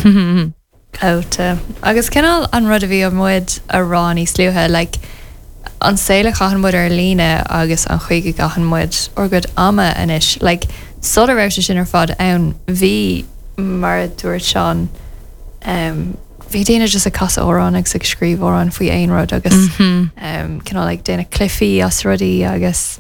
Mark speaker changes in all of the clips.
Speaker 1: Gleoite. Agus cineál an rud a bhí muid a rá níos luaithe, like, an saol a chaitheann muid ar líne agus an chaoi go gcaitheann muid ár gcuid ama anois, like, sula raibh sé sin ar fad ann, bhí, mar a dúirt Seán, em, bhí daoine just ag casadh amhrán agus ag scríobh amhrán faoi aon rud agus, em, cineál ag déanamh cluichí as rudaí agus,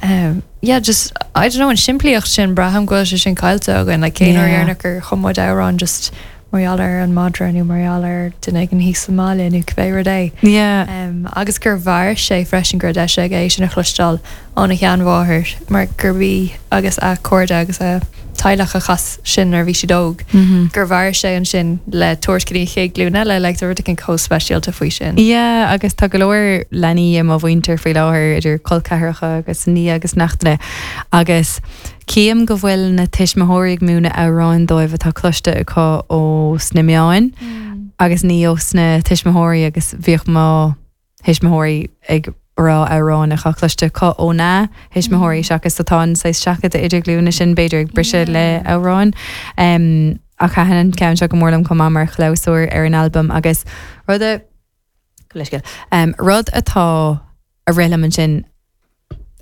Speaker 1: em, yeah, just, I don't know, an simplíocht sin, braithim go bhfuil sé sin caillte againn, like, cén uair dheireanach gur chum muid amhrán just mar gheall ar an madra nó mar gheall ar duine éigin thíos sa mbaile nó cibé rud é.
Speaker 2: Yeah.
Speaker 1: Um, agus gur mhair sé freisin go raibh deis aige é sin a chloisteáil óna sheanmháthair mar gurb í agus a cairde agus a teaghlach a chas sin nuair a bhí siad óg, gur mhair sé ansin le tabhairt go dtí an chéad ghlúin eile, like, tá rud éigin chomh speisialta faoi sin.
Speaker 2: Yeah, agus tá go leor leanaí i mo mhuintir faoi láthair, idir col ceathracha agus nia agus neachtanna, agus Cím go bhfuil na tuismitheoirí ag múineadh amhráin dóibh atá cloiste acu ó sna meáin agus ní ó sna tuismitheoirí agus bhíodh mo thuismitheoirí ag rá amhráin atá cloiste acu ó na thuismitheoirí seachas so tá an saghas seachadadh idirghlúine sin b'fhéidir ag briseadh le amhráin. Ach thaitin an ceann seo go mór liom chomh maith mar chlabhsúr ar an albam agus rud a, leithscéal, rud atá a rith liom ansin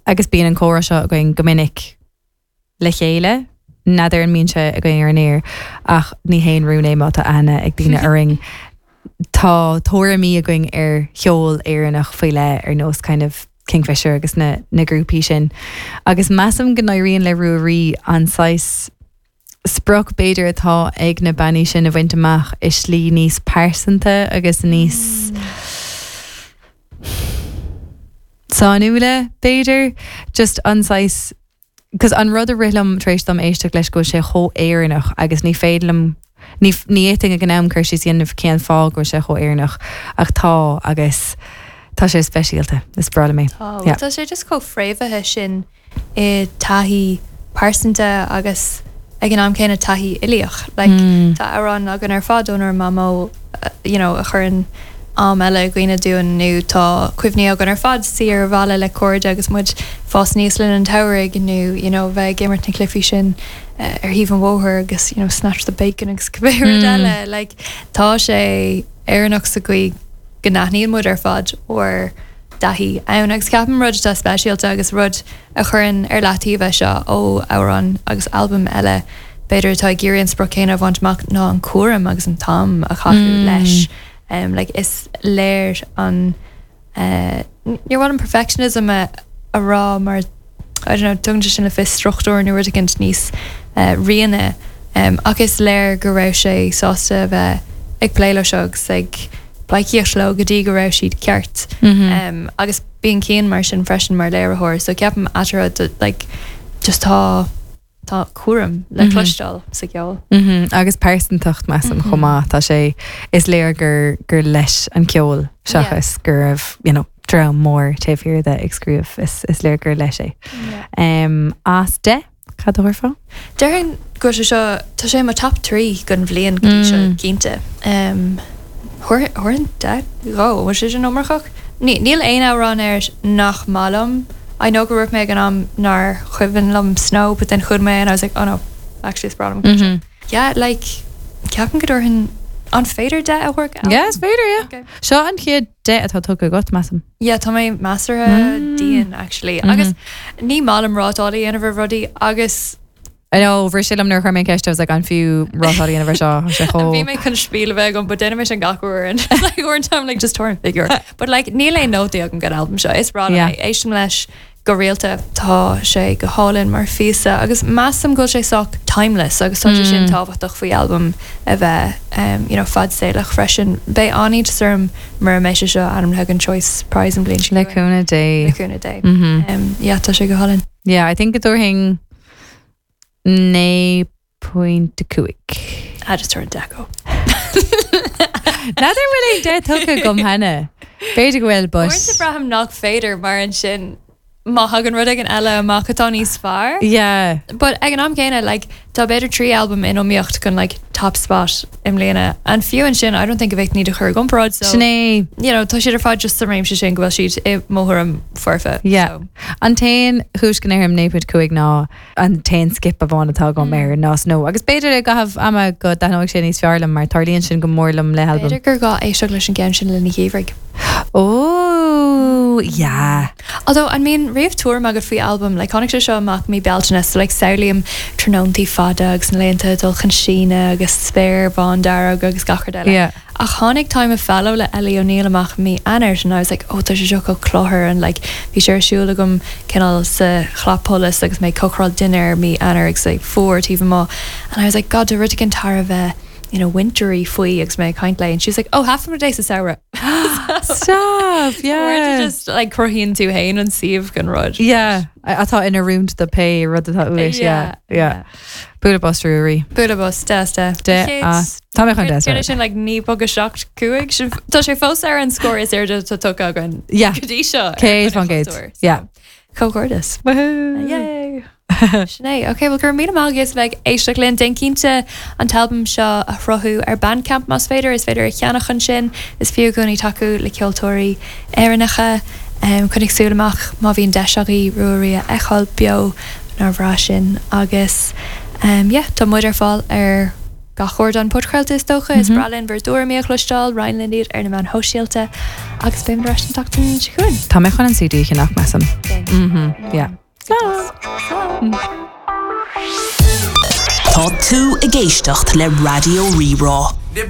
Speaker 2: Agus bíonn an comhrá seo againn go minic le chéile, n'fheadar an mbíonn sé againn ar an aer, ach ní haon rún é má tá aithne ag daoine orainn. Tá tuairimí againn ar cheol Éireannach faoi leith, ar nós kind of Kingfisher agus na na grúpaí sin. Agus measaim go n-éiríonn le Ruairí an saghas sprioc b'fhéidir atá ag na bannaí sin a bhaint amach i slí níos pearsanta agus níos sainiúla b'fhéidir. Just an saghas, 'cause an rud a rith liom tar éis dom éisteacht leis go bhfuil sé chomh Éireannach agus ní féidir liom, ní ní fhéadfainn ag an am cur síos a dhéanamh cén fáth go bhfuil sé chomh Éireannach ach tá agus tá sé speisialta. Is breá liom é.
Speaker 1: Tá, yeah. Tá sé just chomh fréamhaithe sin i dtaithí pearsanta agus ag an am céanna taithí uilíoch. Like, tá amhráin againn ar fad ónár mamó you know, a chuireann am eile i gcuimhne dúinn nó tá cuimhní againn ar fad suí ar bhalla le cairde agus muid fás aníos le linn an tsamhraidh nó you know, bheith ag imirt na cluichí sin ar thaobh an bhóthair agus you know, snatch the bacon agus cibé rud eile. Like, tá sé Éireannach sa gcaoi go n-aithníonn muid ar fad ár dtaithí ann agus ceapaim rud atá speisialta agus rud a chuireann ar leataobh é seo ó amhráin agus albaim eile b'fhéidir atá ag iarraidh an sprioc céanna a bhaint amach ná an cúram agus an t-am a caitheadh leis. Like is léir an eh níor mhaith liom perfectionism a a rá mar I don't know tugann sé sin le fios struchtúr nó rud éicint níos eh rianaithe ach is léir go raibh sé sásta a bheith ag plé leo seo agus ag pleidhcíocht leo go dtí go raibh siad ceart. Agus bíonn Cian mar sin freisin mar léiritheoir so ceapaim eatarthu like just tá tá cúram le cloisteáil sa gceol.
Speaker 2: Agus pearsantacht measaim chomh maith. Tá sé, is léir gur gur leis an ceol seachas go raibh you know dream mór taobh thiar de ag scríobh. Is is léir gur leis é. As 10? Cad a thabharfá?
Speaker 1: Déarfainn go bhfuil sé seo, tá sé i mo top 3 don bhliain go dtí seo, cinnte. Thabharfainn 10 dhó, an bhfuil sé sin iomarcach? Níl aon amhrán air nach maith liom. I know gur dhúirt mé ag an am nár chuimhin liom Snow but then chuala mé and I was like oh no, actually is breá liom an ceann seo. Yeah, like, ceapaim go dtabharfainn, an féidir 10 a thabhairt
Speaker 2: do albam? Yeah, is féidir, yeah. Okay. Seo an chéad 10 atá tugtha agat, measaim.
Speaker 1: Yeah, tá mé measartha dian actually. Agus ní maith liom rátáil a dhéanamh ar rudaí agus.
Speaker 2: I know, bhris sé liom nuair a chuir mé an ceist, I was like, an fiú rátáil a dhéanamh ar seo? Tá sé chomh.
Speaker 1: Bhí mé chun spiel a bheith agam, but déanaim é sin gach uair and like uair an time like just tabhair an figiúr. But like níl aon nótaí agam don albam seo. Is breá liom é. Éistim leis go rialta. Tá sé go hálainn mar phíosa agus measaim go bhfuil sé sách timeless agus tá sé sin tábhachtach faoi albam a bheith you know fadsaolach freisin. Beidh an-iontas orm mura mbeidh sé seo ainmnithe don Choice Prize an bhliain seo
Speaker 2: Le cúnamh Dé.
Speaker 1: Le cúnamh Dé. Yeah, tá sé go hálainn.
Speaker 2: Yeah, I think go dtabharfainn 9.5.
Speaker 1: Ah, just tabhair 10 dhó.
Speaker 2: N'fheadar an bhfuil aon 10 tugtha agam cheana. B'fhéidir go bhfuil, but.
Speaker 1: Uaireanta braithim nach féidir mar ansin. má thagann rud éigin eile amach atá níos fearr.
Speaker 2: Yeah.
Speaker 1: But ag an am céanna like tá b'fhéidir 3 albam in iomaíocht don like top spot i mbliana and fiú ansin I don't think go bhféadfainn iad a chur i gcomparáid so
Speaker 2: Sin é.
Speaker 1: you know tá siad ar fad just sa réimse sin go bhfuil siad i mo thuairim foirfe.
Speaker 2: Yeah.
Speaker 1: So.
Speaker 2: An t-aon chúis go ndéarfainn 9.5 ná an t-aon skip amháin atá agam ar ná Snow. Agus b'fhéidir i gcaitheamh ama go dtaitneoidh sé níos fearr liom mar tarlaíonn sin go mór liom le halbaim.
Speaker 1: B'fhéidir gur gá éisteacht leis an gceann sin le linn an gheimhridh.
Speaker 2: Ó, yeah.
Speaker 1: Although, an mbíonn riamh tuairim agat faoi albam? Like, tháinig sé seo amach mí Bealtaine, so like samhlaím tráthnóntaí fada agus na laethanta ag dul chun síneadh agus spéir bhándearg agus gach rud eile.
Speaker 2: Yeah.
Speaker 1: Ach tháinig Time of Fallow le Ellie O'Neill amach mí Eanáir and I was like, oh tá sé seo chomh cluthar and like bhí sé ar siúl agam cineál sa chlapsholas agus mé ag cócaráil dinnéar mí Eanáir agus é fuar taobh amuigh and I was like, God tá rud éigin thar a bheith you know, wintery faoi agus mé ag caint léi and she was like, oh half of a day sa samhradh.
Speaker 2: Stop, yeah.
Speaker 1: Uaireanta just like cruthaíonn tú féin an suíomh don rud.
Speaker 2: Yeah, atá in oiriúint do pé rud atá uait, yeah, yeah. Bualadh bos Ruairí.
Speaker 1: Bualadh bos, deas de.
Speaker 2: De as. Tá mé chun deas.
Speaker 1: Céard é sin like 9.75? Sin tá sé fós ar an scór is airde atá tugtha againn
Speaker 2: Yeah.
Speaker 1: go dtí seo. ar
Speaker 2: 100
Speaker 1: an
Speaker 2: faoin gcéad.
Speaker 1: chultúr, so.
Speaker 2: Yeah.
Speaker 1: Comhghairdeas.
Speaker 2: Woohoo!
Speaker 1: Yay! Sin é. Ok, bhuel go raibh míle maith agaibh as bheith ag éisteacht linn. Déan cinnte an t-albam seo a shruthú ar Bandcamp más féidir. Is féidir a cheannach ansin. Is fiú i gcónaí tacú le ceoltóirí Éireannacha. Coinnigh súil amach má bhíonn deis agaibh Ruairí a fheiceáil beo, nár bhreá sin. Agus yeah, tá muid ar fáil ar. gach ardán podchraolta is dócha. Is breá linn bhur dtuairimí a chloisteáil, roinn linn iad ar na meáin shóisialta agus beimid ar ais an tseachtain seo chugainn.
Speaker 2: Tá mé chun an CD a cheannach, measaim.
Speaker 1: Déan.
Speaker 2: Mhm, yeah.
Speaker 1: Slán! Slán!
Speaker 3: Tá tú ag éisteacht le Raidió Rí-Rá.